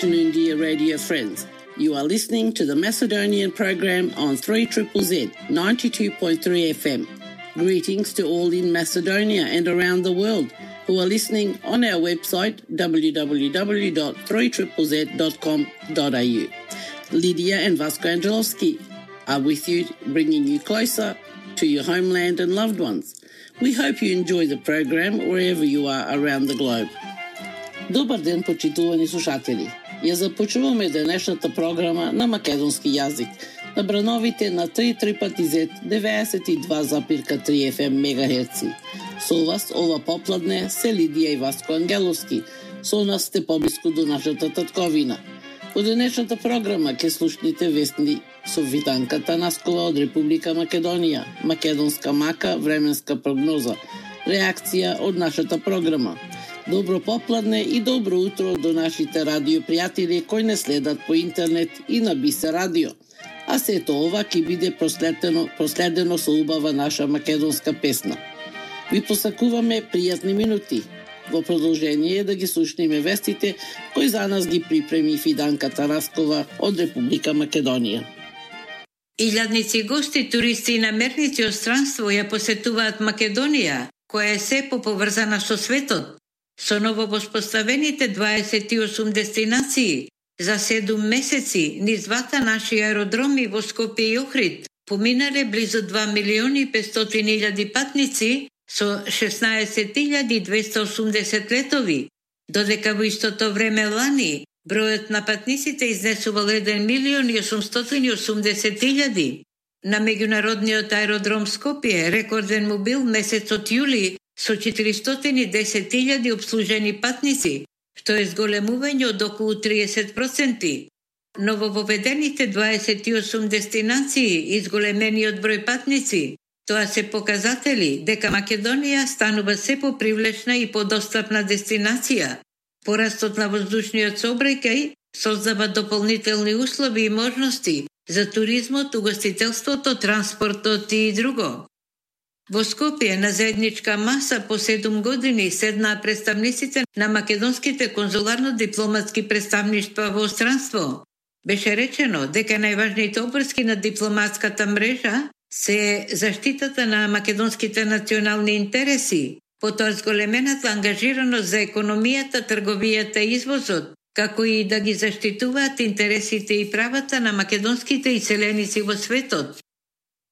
afternoon, dear radio friends. You are listening to the Macedonian program on 3ZZZ 92.3 FM. Greetings to all in Macedonia and around the world who are listening on our website www.3ZZZ.com.au. Lydia and Vasco Angelovski are with you, bringing you closer to your homeland and loved ones. We hope you enjoy the program wherever you are around the globe. Добар ден, почитувани слушатели. Ја започнуваме денешната програма на македонски јазик на брановите на 3ZZZ 92,3 FM мегахерци. Со вас ова попладне се Лидија и Васко Ангеловски. Со нас сте поблиску до нашата татковина. Во денешната програма ќе слушнете вестни со Виданка Танаскова од Република Македонија, македонска мака, временска прогноза, реакција од нашата програма. Добро попладне и добро утро до нашите радиопријатели кои не следат по интернет и на Бисе радио. А сето ова ќе биде проследено со убава наша македонска песна. Ви посакуваме пријатни минути. Во продолжение да ги слушнеме вестите кои за нас ги припреми Виданка Танаскова од Република Македонија. Илјадници гости, туристи и намерници од странство ја посетуваат Македонија, која е се поповрзана со светот. Со нововоспоставените 28 дестинации за 7 месеци низ двата наши аеродроми во Скопје и Охрид поминале близу 2.500.000 патници со 16.280 летови, додека во истото време лани бројот на патниците изнесувал 1.880.000. На меѓународниот аеродром Скопје рекорден му бил месецот јули со 410.000 обслужени патници, што е зголемување од околу 30%. Новововедените 28 дестинации и зголемениот број патници, тоа се показатели дека Македонија станува се попривлечна и подостапна дестинација. Порастот на воздушниот сообраќај создава дополнителни услови и можности за туризмот, угостителството, транспортот и друго. Во Скопје на заедничка маса по 7 години седнаа представниците на македонските конзуларно-дипломатски представништва во странство. Беше речено дека најважните опрски на дипломатската мрежа се заштитата на македонските национални интереси, потоа зголемената ангажираност за економијата, трговијата и извозот, како и да ги заштитуваат интересите и правата на македонските иселеници во светот.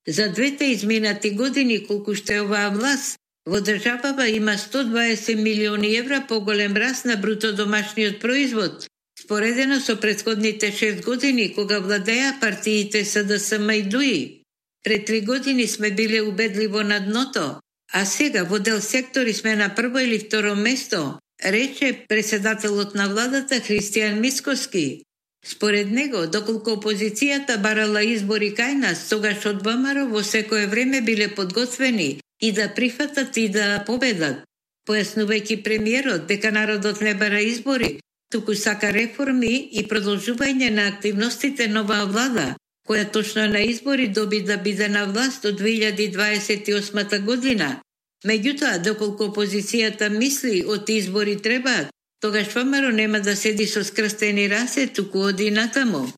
За двете изминати години, колку што е оваа власт, во државава има 120 милиони евра поголем раст на бруто домашниот производ, споредено со претходните 6 години, кога владеа партиите СДСМ и ДУИ. Пред 3 години сме биле убедливо на дното, а сега во дел сектори сме на прво или второ место, рече председателот на владата Христијан Мицкоски. Според него, доколку опозицијата барала избори кај нас, тогаш од ВМРО во секое време биле подготвени и да прифатат и да победат. Појаснувајќи премиерот дека народот не бара избори, туку сака реформи и продолжување на активностите на оваа влада, која точно на избори доби да биде на власт до 2028 година. Меѓутоа, доколку опозицијата мисли од избори требаат, тогаш ВМРО нема да седи со скрстени раце, туку оди натаму.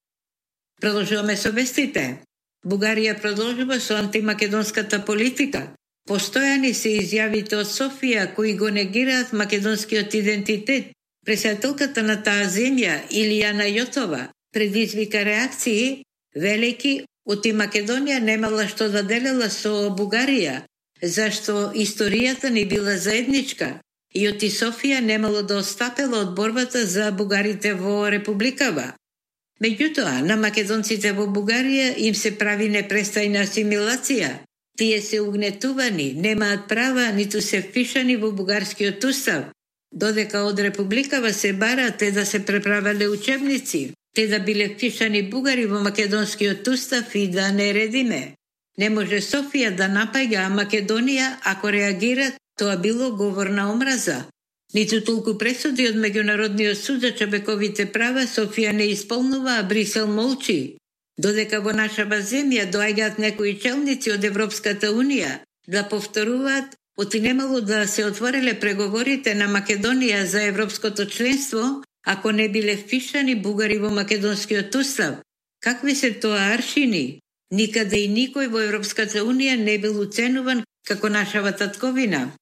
Продолжуваме со вестите. Бугарија продолжува со антимакедонската политика. Постојани се изјавите од Софија кои го негираат македонскиот идентитет. Председателката на таа земја, Илијана Јотова, предизвика реакции, велики оти Македонија немала што да делела со Бугарија, зашто историјата не била заедничка и оти Софија немало да отстапела од борбата за бугарите во републикава. Меѓутоа, на македонците во Бугарија им се прави непрестајна асимилација. Тие се угнетувани, немаат права, ниту се впишани во бугарскиот устав, додека од републикава се бара те да се преправеле учебници, те да биле впишани бугари во македонскиот устав и да не редиме. Не може Софија да напаѓа Македонија ако реагира, тоа било говор на омраза. Ниту толку пресуди од Меѓународниот суд за човековите права Софија не исполнува, а Брисел молчи. Додека во нашава земја доаѓаат некои челници од Европската Унија да повторуваат оти немало да се отвориле преговорите на Македонија за европското членство, ако не биле впишани бугари во македонскиот устав? Какви се тоа аршини? Никаде и никој во Европската Унија не бил уценуван како нашава татковина.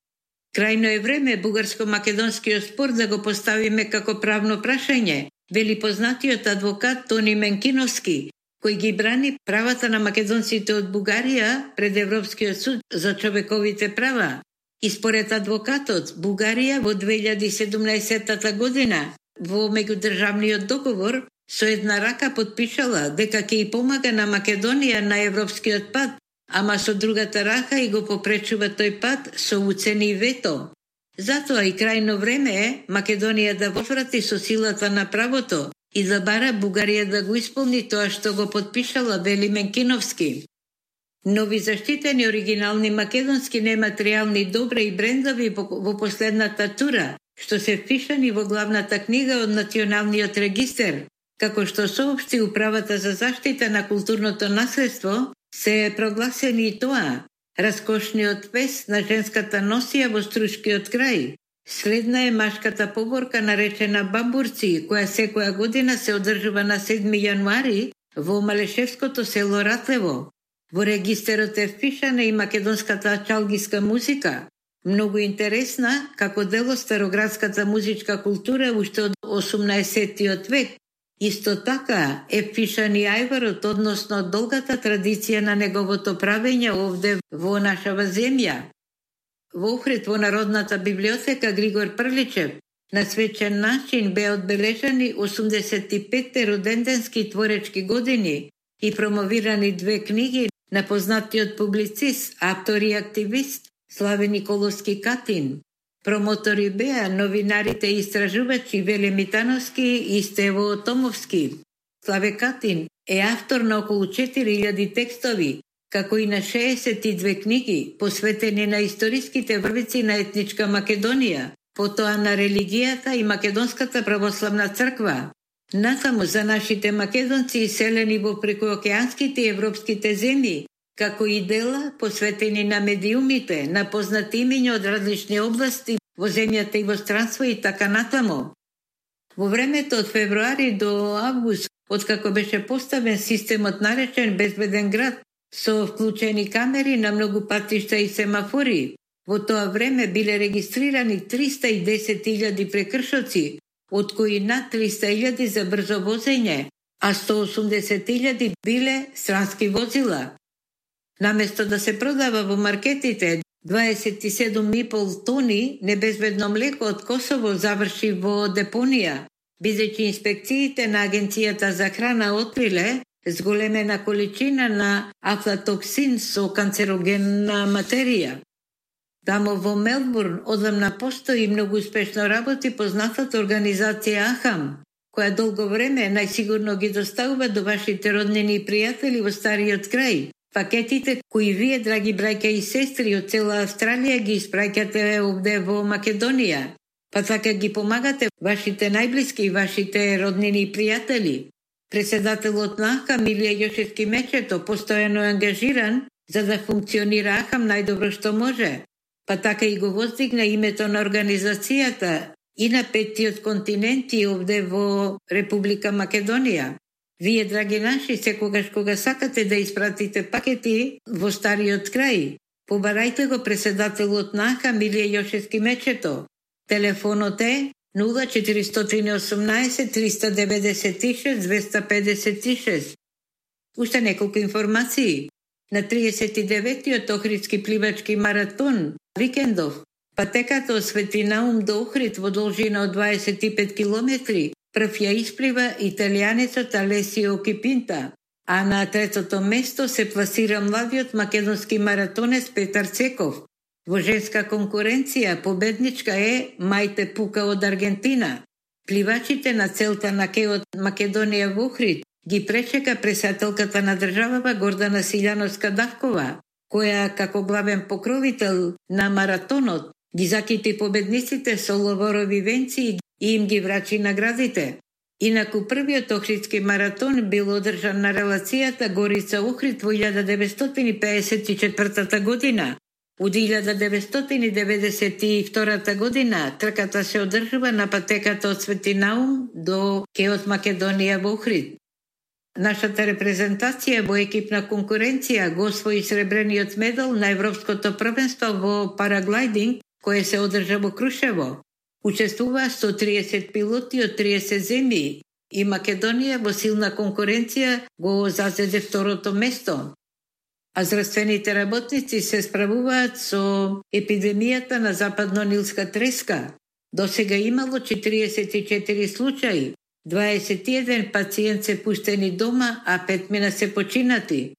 Крајно е време бугарско-македонскиот спор да го поставиме како правно прашање, вели познатиот адвокат Тони Менкиновски, кој ги брани правата на македонците од Бугарија пред Европскиот суд за човековите права. И според адвокатот, Бугарија во 2017 година во меѓудржавниот договор со една рака подпишала дека ќе и помага на Македонија на европскиот пат, ама со другата рака и го попречува тој пат со уцени вето. Затоа и крајно време е Македонија да возврати со силата на правото и да бара Бугарија да го исполни тоа што го подпишала, вели Менкиновски. Нови заштитени оригинални македонски нематеријални добра и брендови во последната тура, што се впишани во главната книга од Националниот регистер, како што соопшти Управата за заштита на културното наследство, се прогласени и тоа: раскошниот вес на женската носија во Струшкиот крај. Следна е машката поборка наречена Бамбурци, која секоја година се одржува на 7 јануари во Малешевското село Ратлево. Во регистерот е впишана и македонската чалгиска музика, многу интересна како дел од староградската музичка култура уште од 18-тиот век. Исто така е впишан и ајварот, односно долгата традиција на неговото правење овде во нашава земја. Во Охрид во Народната библиотека Григор Прличев на свечен начин беа одбележани 85-те роденденски творечки години и промовирани 2 книги на познатиот публицист, автор и активист Славе Николовски Катин. Промотори беа новинарите и истражувачи Веле Митановски и Стево Томовски. Славе Катин е автор на околу 4000 текстови, како и на 62 книги, посветени на историските врвици на етничка Македонија, потоа на религијата и Македонската православна црква. Натаму за нашите македонци иселени во прекуокеанските и европските земји, како и дела посветени на медиумите, на познати имиња од различни области во земјата и во странство и така натаму. Во времето од февруари до август, откако беше поставен системот наречен Безбеден град, со вклучени камери на многу патишта и семафори, во тоа време биле регистрирани 310.000 прекршоци, од кои над 300.000 за брзо возење, а 180.000 биле странски возила. Наместо да се продава во маркетите 27,5 тони небезбедно млеко од Косово заврши во депонија, бидејќи инспекциите на Агенцијата за храна откриле зголемена количина на афлатоксин со канцерогенна материја. Тамо во Мелбурн одамна постои многу успешно работи познатата организација АХАМ, која долго време најсигурно ги доставува до вашите роднини и пријатели во стариот крај пакетите кои вие, драги браќа и сестри од цела Австралија, ги испраќате овде во Македонија, па така ги помагате вашите најблиски и вашите роднини и пријатели. Председателот на АХАМ Илија Јошевски Мечето постојано е ангажиран за да функционира АХАМ најдобро што може, па така и го воздигна името на организацијата и на 5-тиот континент и овде во Република Македонија. Вие, драги наши, секогаш кога сакате да испратите пакети во стариот крај, побарајте го председателот на АХАМ Илија Јошевски Мечето. Телефонот е 0418 396 256. Уште неколку информации. На 39-тиот Охридски пливачки маратон викендов, патеката од Свети Наум до Охрид во должина од 25 километри, прв ја исплива италијанецот Алесио Кипинта, а на третото место се пласира младиот македонски маратонец Петар Цеков. Во женска конкуренција победничка е Мајте Пука од Аргентина. Пливачите на целта на кеот Македонија во Охрид ги пречека претседателката на државава Гордана Силјановска-Давкова, која како главен покровител на маратонот ги закити победниците со ловорови венци и им ги врачи наградите. Инаку првиот Охридски маратон бил одржан на релацијата Горица Охрид во 1954 година, У 1992 година трката се одржува на патеката од Свети Наум до Кеот Македонија во Охрид. Нашата репрезентација во екипна конкуренција го освои сребрениот медал на Европското првенство во параглайдинг, кое се одржа во Крушево. Учествува 130 пилоти од 30 земји и Македонија во силна конкуренција го зазеде второто место. А здравствените работници се справуваат со епидемијата на западно-нилска треска. Досега имало 44 случаи, 21 пациент се пуштени дома, а 5 мина се починати.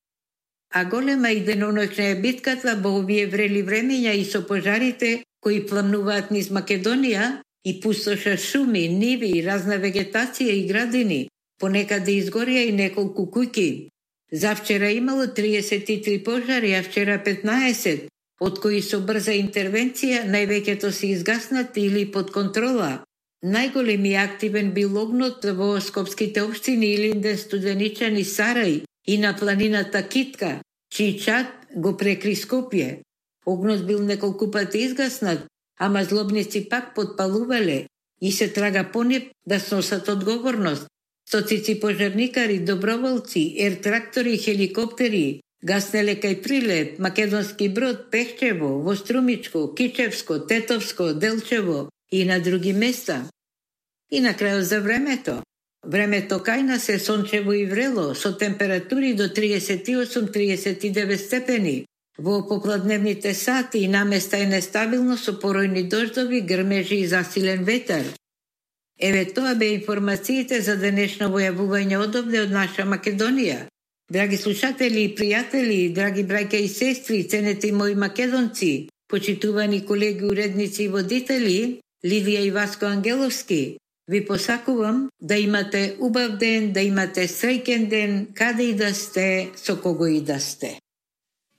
А голема и деноноќна е битката во овие врели времења и со пожарите кои пламнуваат низ Македонија и пустоша шуми, ниви, разна вегетација и градини. Понекаде изгорија и неколку куќи. Завчера имало 33 пожари, а вчера 15, од кои со брза интервенција највеќето се изгаснати или под контрола. Најголем и активен бил огнот во скопските општини Илинден, Студеничан и Сарај и на планината Китка, чиј чад го прекри Скопје. Огнот бил неколку пати изгаснат, ама злобници пак подпалувале и се трага по нив да сносат одговорност. Стоцици пожарникари, доброволци, ер-трактори, хеликоптери, гаснеле кај Прилеп, Македонски брод, Пехчево, Вострумичко, Кичевско, Тетовско, Делчево и на други места. И на крајот за времето. Времето кај нас е сончево и врело, со температури до 38-39 степени. Во попладневните сати и наместа е нестабилно со поројни дождови, грмежи и засилен ветар. Еве тоа бе информациите за денешно војавување одовде од наша Македонија. Драги слушатели и пријатели, драги браќа и сестри, ценети мои македонци, почитувани колеги, уредници и водители, Ливија и Васко Ангеловски, ви посакувам да имате убав ден, да имате среќен ден, каде и да сте, со кого и да сте.